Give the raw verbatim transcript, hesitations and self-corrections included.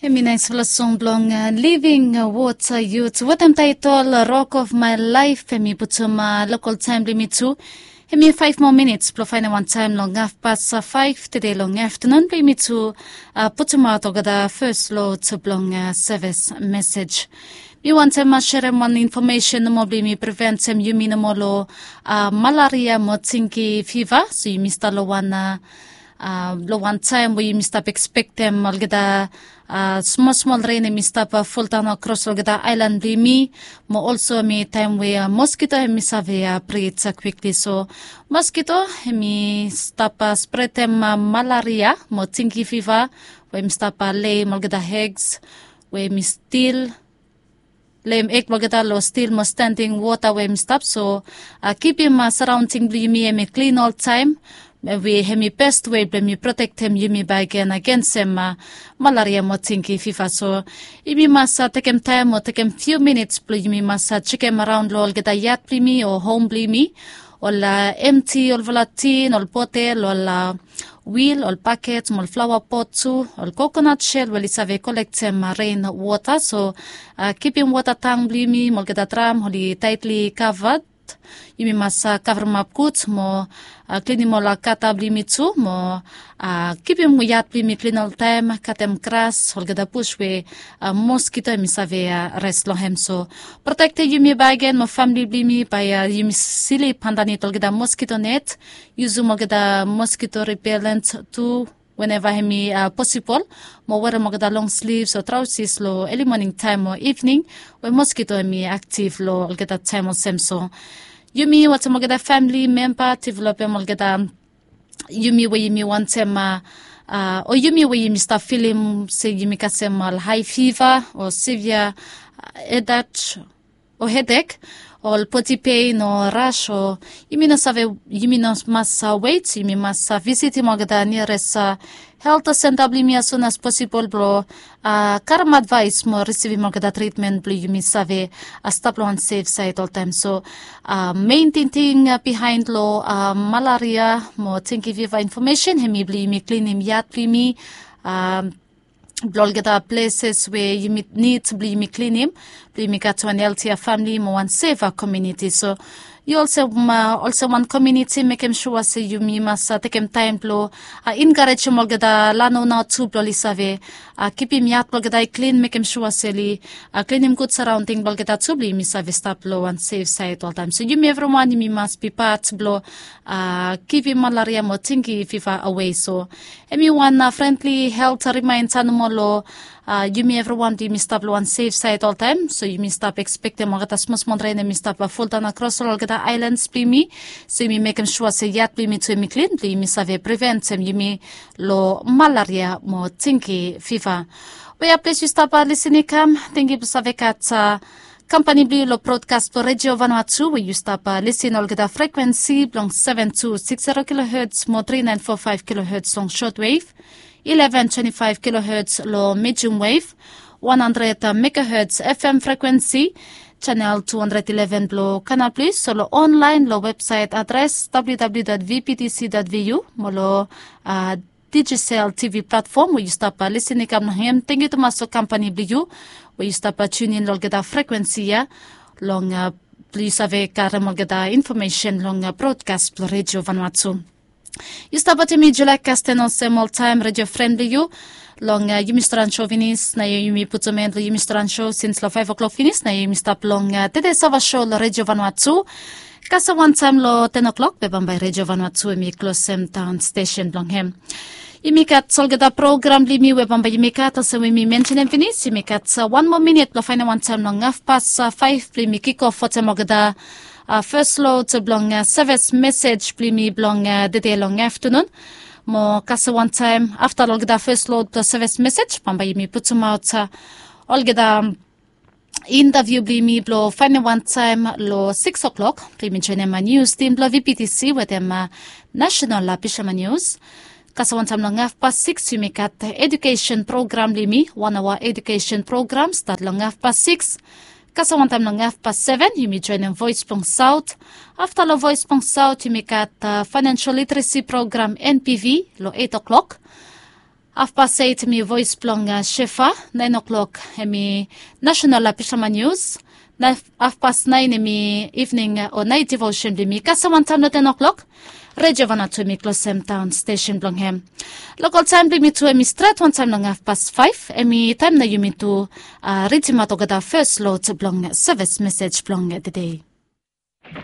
Em i naispela song bilong Living Water Youth wetem taitol Rock of My Life. Em i putum lokal taim bilong mi tu. Em i faiv moa minits bilong fainiman taim long hafpas faiv tede long aftanun bilong mi tu putumaot olgeta fes lot bilong sevis mesij. Mi wantem serem wan infomesen nomo bilong yumi preventem yumi nomo long malaria mo tingki fiva. So yumi stap long wan long wan taim we yumi stap ekspektem olgeta smol smol ren em i stap fuldaun akros olgeta ailan bilong yumi. Mo olso em i taim we moskito em i save prit kwikli. So moskito em i stap spretem malaria mo tingki fiva we em i stap leim olgeta hegs we em i stil leim ek blong olgeta long stil mo standing wota we em i stap. So kipim saraonding blong yumi em i klin oltaim. We em i best we blong yumi protektem yumi baik gen agensem malaria mo tingki fiva. So yumi mas tekem taim o tekem fiu minits blong yumi mas sekem araun long olgeta yat blong yumi o hom blong yumi, ol emti olfala tin ol botel ol wil ol baket mo ol flawa pot tu ol kokonat sel we oli save kolektem ren wota. So kipim wota tang blong yumi mo olgeta dram oli taitli kavat. Yumi mas kavremap gut mo klinim ol gata blong yumi tu mo kipim yat blong yumi klin oltaim, katem gras olgeta bus we moskito em i save res long hem. So protektem yumi baik gen mo famili blong yumi bai yumi slip andanit olgeta moskito net. Yusum olgeta moskito ripelent tu weneva em i posibol, mo werem olgeta long slivs o trausis long eli moning taim o ivning we moskito em i aktiv long olgeta taim olsem. So yumi wantaim olgeta famili memba developem olgeta yumi we yumi wantem o yumi we yumi stap filim se yumi kasem ol hai fiva o sivia edat o hedek ol poti pein o ras o yumi no save, yumi no mas wet, yumi mas visitim olgeta niares helt senta blong yumi as sun as posibol blong karem advais mo risivim olgeta tritmen blong yumi save stap long wan sef sait oltaim. So mein tingting bihain long malaria mo tingki fiva infomesen em i blong yumi klinim yat blong yumi, blong olgeta pleses we yumi nid blong yumi klinim blong yumi gat wan heltia famili mo wan seva komuniti. So yu olsem olsem wan komuniti mekem sua se yumi mas tekem taim blong enkarejem olgeta lanona tu blong oli save kipim yat blong olgeta i klin, mekem sua se oli klinim gut saraonding blong olgeta tu blong yumi save stap long wan sef sait oltaim. So yumi evriwan yumi mas bi pat blong kipim malaria mo tingki fiva awe. So em i wan frendli helt rimainta nomo long yumi evriwan blong yumi stap long wan sef sait oltaim. So yumi stap ekspektem olgeta smosmol ren em i stap fuldaun akros long olgeta ailans blong yumi. So yumi mekem sua se yat blong yumi tu em i klin blong yumi save priventem yumi long malaria mo tingki fiva. Wea ples yu stap lisin i kam, tingki blong save gat kampani blong yu long brodkas blong redio vanua tu we yu stap lisin olgeta frekwensi blong seven two six zero kilohertz mo three nine four five kilohertz long shortwave, eleven twenty five kilohertz long medium wave, one hundred megahertz fm frekwensi, channel two hundred eleven blong kanal plis o long online long website adres www vptc vu mo long digicel tv platfom we yu stap lisin i kam long hem. Tengyu tumas long kampani blong yu we yu stap tunin long olgeta frekwensi ya long blong yu save karem olgeta infomesen long brodkas blong redio vanua tu. Yu stap wantem mi julai kasten olsem oltaim redio fren blong yu long yumi storan sho finis na yumi putum en long yumi storan sho sins long faiv o'klok finis na yumi stap long tede sava sho long redio vanua tu. Kasem wantaim long ten o'klok be bambae redio vanua tu em i klosem daon stesen blong hem. Yumi gat olgeta program blong yumi we bambae yumi gat olsem we mi mensenem finis yumi gat wan moa minit blong fainem wantaim long hafpas faiv blong yumi kikof wantem olgeta fes lot blong sevis mesij blong yumi blong tede long aftanun. Mo kasem wantaim afta long olgeta fes lot blong sevis mesij bambae yumi putumaot olgeta intaviu blong yumi blong fainem wantaim long siks o'klok blong yumi joinim nius tim blong vptc wetem nasenal pisama nius. Kasem wantaim long hafpas siks yumi gat edukesen program blong yumi wan aoa edukesen program stat long hafpas siks. Kasem wantaim long hafpas seven yumi joinim voes blong saot. Afta long voes blong saot yumi gat fainensel literesi program npv long eit o'klok. Hafpas eit em i voes blong shefa. Naen oklok em i nasenal pishama nius. Na hafpas naen em i ivning o naet divosen blong yumi kasem wantaem long ten oklok. Redio vana tu em i klosem daon stesen blong hem. Lokal taem blong yumi tu em i stret wantaem long hafpas faef. Em i taem na yumi tu ridimaot olgeta fes lot blong sevis mesej blong tede.